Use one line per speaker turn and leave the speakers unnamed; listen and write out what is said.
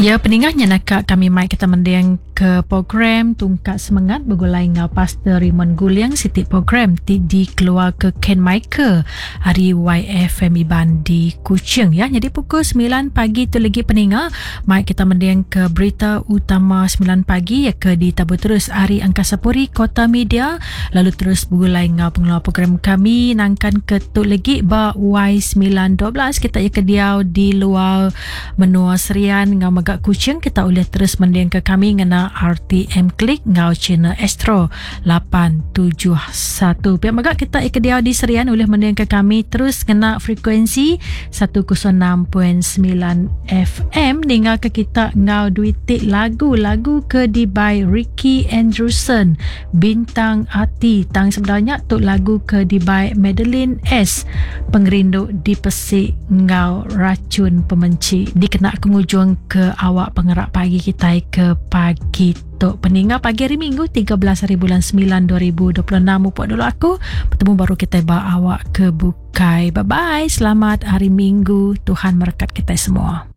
Ya peningah nya naka kami mai kita mending ke program Tungkat Semengat begulai enggau Pastor Raymond Guling siti program ti dikeluar ke Ken Michael ari YFM Iban di Kuching ya. Jadi pukul 9 pagi tu lagi peninga mai kita mending ke berita utama 9 pagi ya ke ditabur terus ari Angkasa Puri Kota Media lalu terus begulai enggau pengeluar program kami nangkan ke tu lagi ba Y912 kita ya ke diau di luar Menua Serian enggau mega Kuching kita ulih terus mendingka kami ngena RTM Click enggau channel Astro 871. Pia mega kita ke diau di Serian ulih mendingka kami terus ngena frekuensi 106.9 FM ninggalka kita enggau duitik lagu-lagu ke dibai Ricky Andrewson Bintang Ati tang sebedau nya tu lagu ke dibai Madeline S Pengerindu Dipesi enggau rachun pemenchi dikena ke ngujung ke awak pengerak pagi kitai ke pagi tu. Peninga pagi hari Minggu 13 hari bulan 9 2026 mupuk dulu aku betemu baru kitai ba awak ke bukai. Bye bye. Selamat hari Minggu. Tuhan merekat kitai semua.